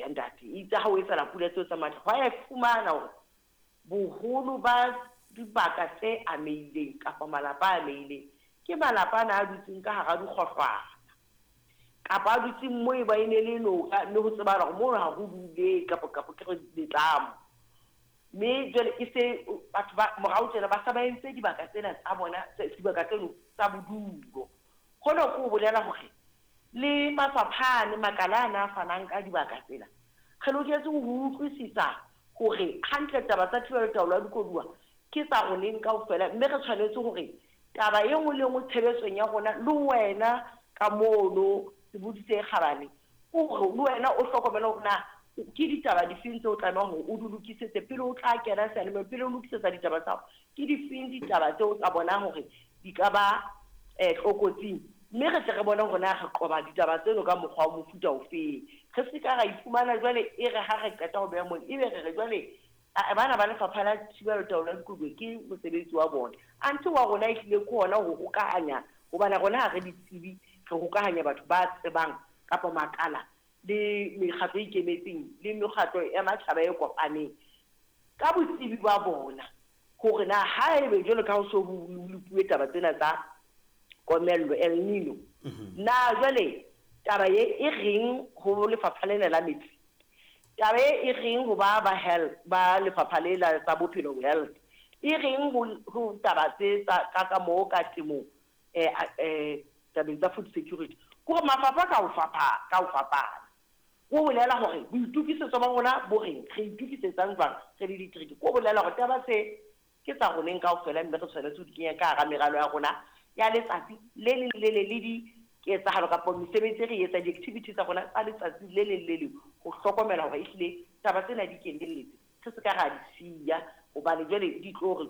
Eya ntate, itse ha o etsahala pula tseo tsa matla, hwa e fumana hore boholo ba dibaka tse amehileng kapa malapa a amehileng ke malapa ana a dutseng ka hara dikgohlwana kapa a dutseng moo e ba e ne le noka mme ho tsebahala hore mono ha ho dule kapa kapa ke re letlamo. Mme jwale e se batho ba morao tjena ba sa ba entse dibaka tsena tsa bona dibaka tseno tsa bodulo. Hona ke ho bolela hore le mafapha ane, makala ana a fanang ka dibaka tsena, re loketse ho utlwisisa hore hantle taba tsa thibelo taolo ya dikoduwa ke tsa roneng kaofela mme re tshwanetse hore taba e nngwe le e nngwe tshebetsong ya rona le wena ka mono sebodi se kgabane ke hore le wena o hlokomele hore na ke ditaba difeng tseo o tlamehang hore o di lokisetse pele o tla kena seyalemoyeng, pele o lokisetsa ditaba tsa hao, ke difeng ditaba tseo o ka bonang hore di ka ba tlokotsing mme re tle re bone hore na re qoba ditaba tseno ka mokgwa wa mofuta ofeng. Re se ka ra iphumana jwale e re ha re qeta ho beha mono ebe re re jwale ae bana ba lefapha la thibelo taolo ya dikoduwa ke mosebetsi wa bona. Anthe wa rona ehlile ke hona ho hokahanya hobane rona ha re ditsebi, re hokahanya batho ba tsebang kapa makala le mekgatlo e ikemetseng le mekgatlo ya matjhaba e kopaneng ka botsebi ba bona hore na haebe jwalo ka ho so ho lopuwe taba tsena tsa komello, El Nino, na jwale taba ye e reng ho lefapha lena la metsi? Taba e e reng ho ba ba health, ba lefapha le la tsa bophelo, health, e reng ho ho taba tse tsa ka ka moo ka temong, tabeng tsa food security? Ke hore mafapha ka ho fapana, ka ho fapana. Ho bolela hore boitokisetso ba rona bo reng, re itokisetsang jwang re le ditereke. Ke ho bolela hore taba tse ke tsa roneng kaofela mme re tshwanetse ho di kenya ka hara meralo ya rona ya letsatsi le leng le le leng le diketsahalo kapa mesebetsi e re e etsang, di-activity tsa rona tsa letsatsi le leng le leng ho hlokomela hore ehlile taba tsena di kenelletse, re se ka ra di siya hobane jwale di tlo re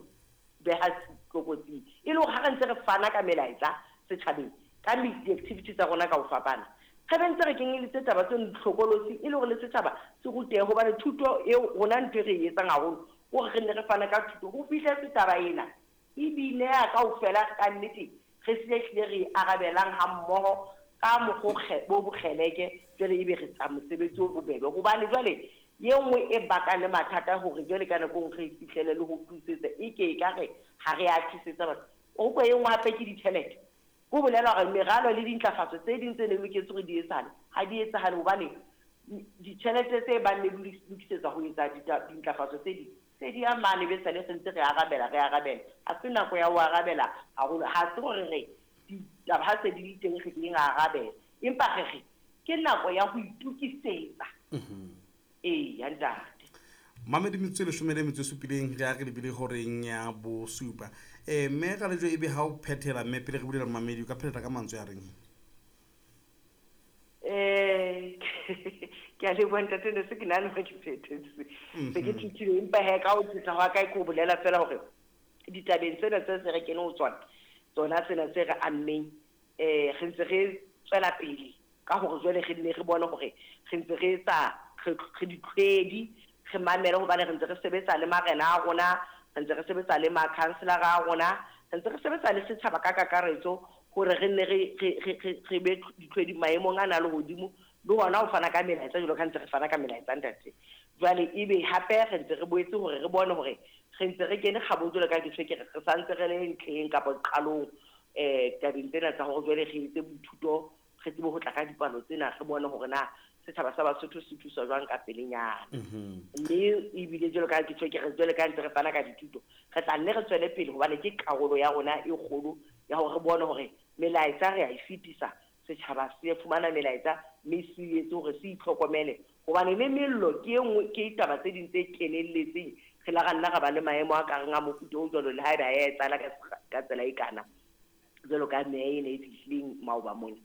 beha tlokotsing. E le hore ha re ntse re fana ka melaetsa setjhabeng ka di-activity tsa rona ka ho fapana, re be ntse re kenyelitse taba tseno ditlhokolosi e le hore le setjhaba se rutehe hobane thuto eo rona ntho e re e etsang haholo ke hore re nne re fane ka thuto ho fihletse taba ena e bineha kaofela ka nnete re se ehlile re e arabelang hammoho ka mokgwa o bo bokgeleke jwale ebe re tsa mosebetsi o bobebe hobane jwale ye nngwe e bakang le mathata hore jwale ka nako e nngwe re fihlele le ho thusetsa e ke e ka re ha re a thusetsa batho. O utlwa e nngwe hape ke ditjhelete. Ho bolela hore meralo le dintlafatso tse ding tse ne loketse hore di etsahale ha di etsahale hobane ditjhelete tse bang ne di lokisetsa ho etsa dintlafatso tse ding se di ya mane be sale re ntse re arabela re arabela. Ha se nako ya ho arabela haholo, ha se hore re ditaba ha se di le teng re keng ra arabela, empa re re ke nako ya ho itokisetsa. Eya ntate. Mamedi metsotso e leshome le metso e supileng re a re lebile horeng ya bosupa. Mme Ralejwe ebe ha o phethela mme pele re bulela momamedi o ka phethela ka mantswe a reng? Ke a leboha ntate, ne se ke nahana hore ke phethetse. Se ke thethile empa he ka ho phetha hwa ka ke ho bolela fela hore ditabeng tsena tse se re kene ho tsona, tsona tsena tse re ammeng, re ntse re tswela pele ka hore jwale re nne re bone hore re ntse re etsa re ditlhwedi, re mamele hobane re ntse re sebetsa le marena a rona, re ntse re sebetsa le makhanselara a rona, re ntse re sebetsa le setjhaba ka kakaretso hore re nne re re re re re be ditlhwedi maemong ana a lehodimo le hona ho fana ka melaetsa jwalo ka ntse re fana ka melaetsa ntate. Jwale ebe hape re ntse re boetse hore re bone hore re ntse re kene kgabong jwalo ka ke tjho ke re re santse re le ntlheng kapa qalong tabeng tsena tsa hore jwale re etse boithuto re tsebe ho tla ka dipalo tsena re bone hore na setjhaba sa Basotho se thuswa jwang ka pelenyana. Mme ebile jwalo ka ke tjho ke re jwale ka ntse re fana ka dithuto re tla nne re tswele pele hobane ke karolo ya rona e kgolo ya hore re bone hore melaetsa re a e fetisa, setjhaba se fumana melaetsa mme se etse hore se itlhokomele hobane le mello ke e nngwe ke taba tse ding tse kenelletseng re la ra nna ra ba le maemo a kareng a mofuta o jwalo le haeba ya etsahala ka tsela e kana jwalo ka meya ena e fihlileng maoba mona.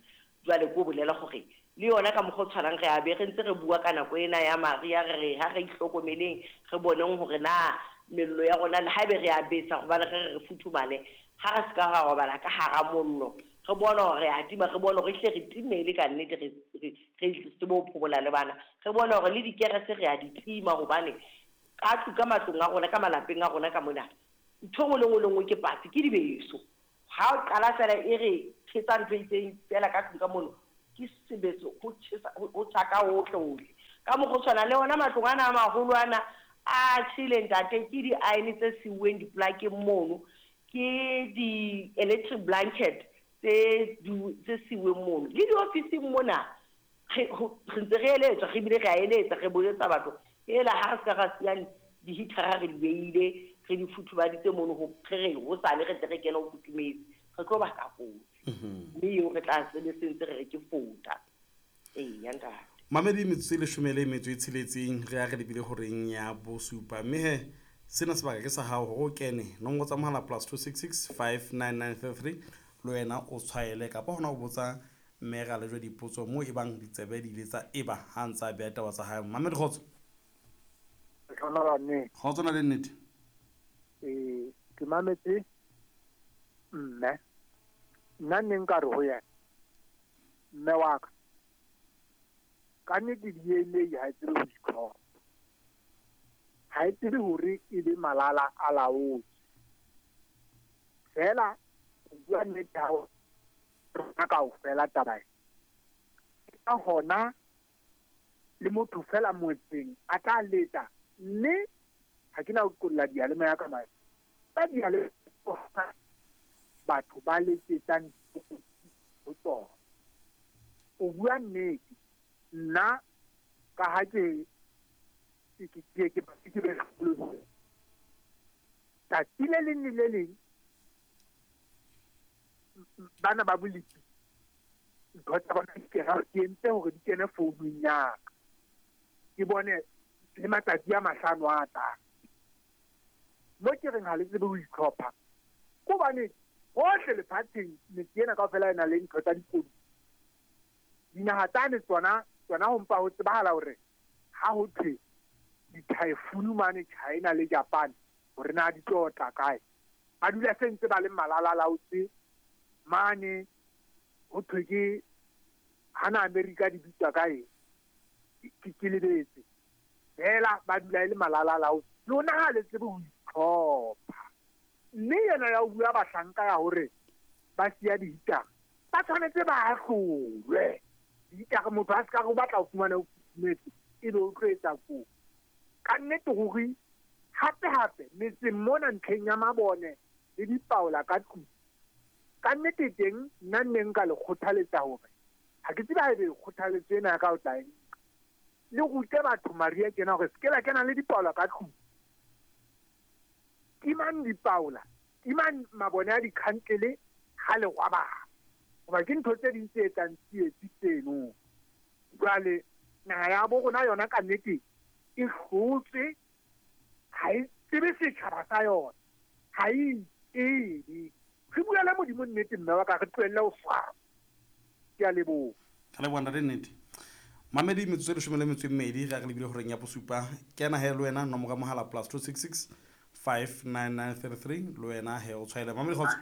Jwale ke ho bolela hore le yona ka mokgwa o tshwanang re a be re ntse re bua ka nako ena ya mariha re re ha re itlhokomeleng re boneng hore na mello ya rona le haebe re a besa hobane re re re futhumale ha re se ka ra robala ka hara mollo re bone hore re a tima re bone hore ehlile re timele ka nnete re re re tsebe ho phomola le bana re bone hore le dikerese re a di tima hobane ka tlu ka matlong a rona ka malapeng a rona ka mona ntho e nngwe le nngwe le nngwe ke patsi ke dibeso. Ha o qala fela e re tjhesa ntho e itseng fela ka tlung ka mono ke sebeso ho tjhesa ho tjha ka hohle hohle. Ka mokgwa o tshwanang le ona matlong ana a maholo ana a tjhele ntate, ke di-iron tse siuweng diplakeng mono, ke di-electric blanket tse siuweng mono. Le diofising mona re ntse re eletswa, re bile re a eletsa, re boletsa batho ela ha re se ka ra siya di-heater-a re di beile, re di futhubaditse mono ho re hosane re tle re kene ho futhumetse, re tlo baka kotsi. Mme eo re tla sebetse ntse re re ke fota. Eya ntate. Mamedi metsotso e 16 re ya re lebile horeng ya bosupa. Mme he sena sebaka ke sa hao hore o kene nomoro tsa mohala +266 59933 le wena o tshwaele kapa hona o botsa mme Ralejwe dipotso moo e bang ditsebe di ile tsa eba ha ntse a beha taba tsa hae. Mamedi kgotso. Kgotso na le nnete. Ke mametse mme nna ne nka re ho yena mme wa ka ka nnete DNA ha e tsebe ho itlhoka, ha e tsebe hore e be malala a laotswe. Fela ho bua nnete ha rona kaofela taba ena. Ka hona le motho fela motseng a tla letsa, mme ha ke na ho qolla diyalemoya ka mane. Ba diyalemoya batho ba letsetsang ho tsona. O bua nnete, nna ka ha ke ke tsatsi le leng le le leng bana ba bolepi ntho tsa bona di kena, ke entse hore di kene founung ya ka, ke bone le matsatsi a 5 a tlang. Mo ke reng ha le tsebe ho itlhopha, ke hobane hohle lefatsheng metse ena kaofela e na le ntho tsa dikotsi. Dinaha tsane tsona ho mpa ho tsebahala hore ha ho thwe di-typhoon mane China le Japan hore na di tlo tla kae, ba dula se ntse ba le malalalaotse mane. Ho thwe ke hana America di bitswa kae, ke lebetse fela, ba dula e le malalalaotse. Lona ha le tsebe ho itlhopha. Mme yena ya ho bua bahlanka ya hore ba siya di-heater, ba tshwanetse ba ahlolwe. Di-heater motho a se ka re o batla ho fumana o futhumetse, ebe o tlo etsa kotsi. Ka nnete ruri, hape-hape metseng mona ntlheng ya mabone le dipaola ka tlung, ka nnete teng nna nne nka le kgothaletsa hore ha ke tsebe haebe kgothaletso ena ya ka o tla e nka, le rute batho Maria kena hore se ke la kena le dipaola ka tlung. Timang dipaola, timang mabone a dikhantlele ha le robala, hoba ke ntho tse ding tse etsang tsietsi tseno. Jwale naha ya bo rona yona ka nnete e hlotswe, ha e tsebe setjhaba sa yona, ha e itsebe. Re buela Modimo nnete mme wa ka, re tlohelle ho swaba. Ke a leboha. Ka leboha ntate nnete. Mamedi metsotso e 12 re ya re lebile horeng ya bosupa. Kena he le wena nomoro ya mohala +266 59933 le wena he o tshwaele. Mamedi kgotso.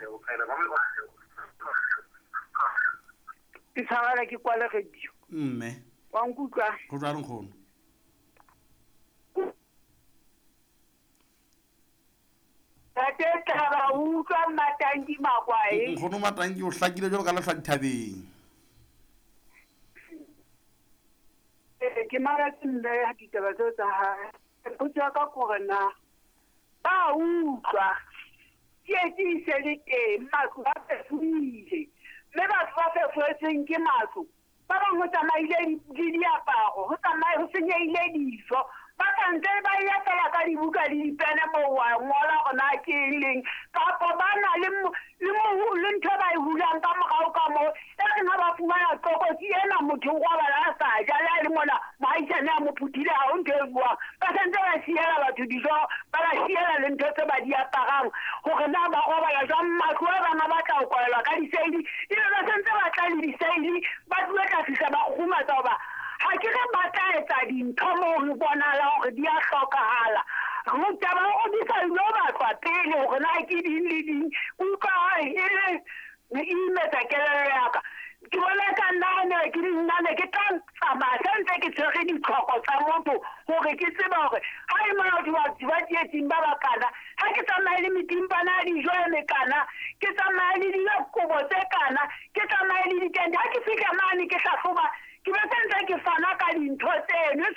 Ke tshwarela ke kwale radio. Mme. Wa nkutlwa? Ho jwalo nkgono. Ntate Taba, o utlwa Matanki Makwae? Nkgono Matanki o hlakile jwalo ka lehlwa dithabeng. Ke mametse mme ditaba tseo tsa hae. Potso ya ka ke hore na ba utlwa tsietsi e se le teng, matlo a fefohile, mme batho ba fefoetsweng ke matlo ba bang ho tsamaile le diaparo, ho tsamaye ho senyehile dijo, ba santse ba ya fela ka dibuka le dipene moo wa ngola hore na ke eng leng, kapa ba na le le ntho e ba e hulang ka morao ka moo e reng ha ba fumana tlokotsi ena motho o robala a sa ja, le ha e le mona moahisane a mo phuthile ha ho ntho e buang, ba santse ba siela batho dijo, ba ba siela le ntho tse ba di aparang hore na ba robala jwang. Matlo a bang a batla ho kwalelwa ka diseili, ebe ba santse ba tla le diseili, ba tlilo tla fihla ba kgurumatsa hoba ha ke re ba tla etsa dintho moo re bonahala hore di a hlokahala. Taba ya hore di sa ilo batlwa pele hore na ke ding le ding, ke utlwa e le e imetsa kelello ya ka. Ke bona ka nna ne ke nna ne ke tla tsamaya se ntse ke tshwere ditlhoko tsa motho hore ke tsebe hore ha e mona batho ba tsietsing ba bakana, ha ke tsamaye le metimpana ya dijo e mekana, ke tsamaye le dikobo tse kana, ke tsamaye le ditente. Ha ke fihla mane ke hlahloba, ke be se ntse ke fana ka dintho tseno.